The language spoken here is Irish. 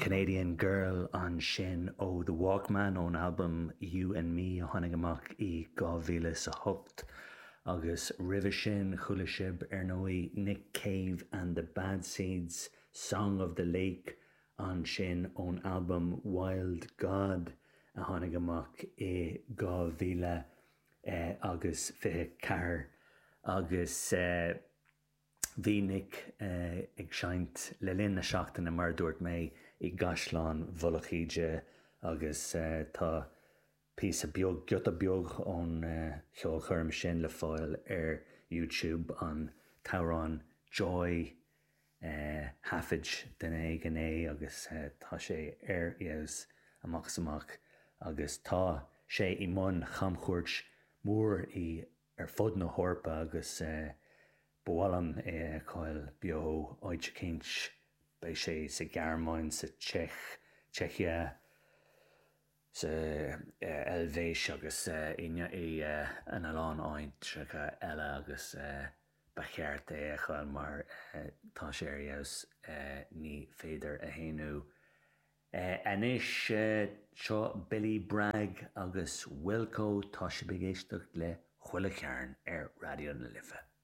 Canadian Girl ansin ó The Walkmen ón albam You and Me a tháinig amach i 2008 agus roimhe sin chuala sibh ar ndóigh Nick Cave and the Bad Seeds, Song of the Lake ansin ón albam Wild God a tháinig amach i 2024 agus. Bhí Nick ag seinnt le linn na seachtaine, mar a dúirt mé, i gCaisleán Mhullach Íde agus tá píosa beag, giota beag ón cheolchoirm sin le fáil ar YouTube, an t-amhrán 'Joy'. Thaifead duine éigin é agus tá sé ar fheabhas amach is amach agus tá sé i mbun chamchuairt mhór i ar fud na hEorpa agus ba mhaith liom é a fheiceáil beo áit eicínt. Beidh sé sa Ghearmáin, sa tSeic, Czechia, sa Eilvéis agus ina lán áiteacha eile agus ba cheart é a fheiceáil mar tá sé ar fheabhas, ní féidir a shéanadh. Anois, seo Billy Bragg agus Wilco, tá sibh ag éisteacht le Chuile Chearn ar Raidió na Life.